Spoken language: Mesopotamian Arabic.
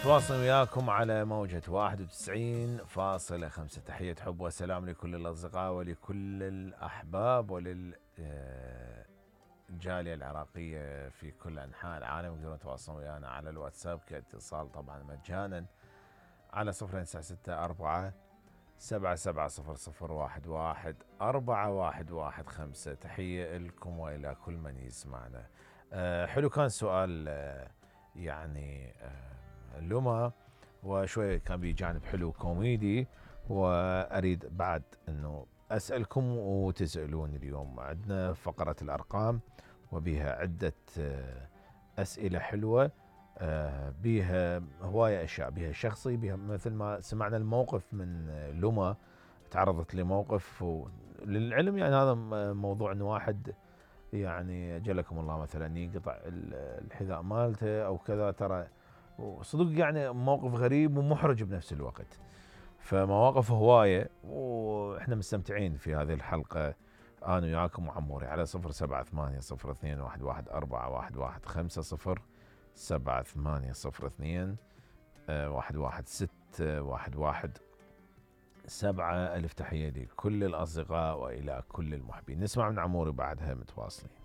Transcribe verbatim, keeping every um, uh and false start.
تواصل وياكم على موجة واحد وتسعين فاصلة خمسة. تحية حب وسلام لكل الأصدقاء ولكل الأحباب وللجالية العراقية في كل أنحاء العالم. يقدرون يتواصلون ويانا على الواتساب كاتصال طبعا مجانا على صفر تسعة ستة أربعة سبعة سبعة صفر صفر واحد واحد أربعة واحد واحد خمسة. تحية لكم وإلى كل من يسمعنا. أه حلو كان سؤال أه يعني أه لما وشوية كان بجانب حلو كوميدي، وأريد بعد أنه أسألكم وتسألون. اليوم عندنا فقرة الأرقام وبها عدة أسئلة حلوة، بها هواية أشياء، بها شخصي، بها مثل ما سمعنا الموقف من لما تعرضت لموقف للعلم. يعني هذا موضوع أنه واحد يعني جلكم الله مثلا يقطع الحذاء مالته أو كذا، ترى وصدق يعني موقف غريب ومحرج بنفس الوقت. فمواقف هواية واحنا مستمتعين في هذه الحلقة انا وياكم وعموري على صفر سبعة ثمانية صفر اثنين واحد واحد أربعة واحد واحد خمسة صفر سبعة ثمانية صفر اثنين واحد واحد ستة واحد واحد سبعة. ألف تحية لكل الأصدقاء وإلى كل المحبين. نسمع من عموري بعدها متواصلين.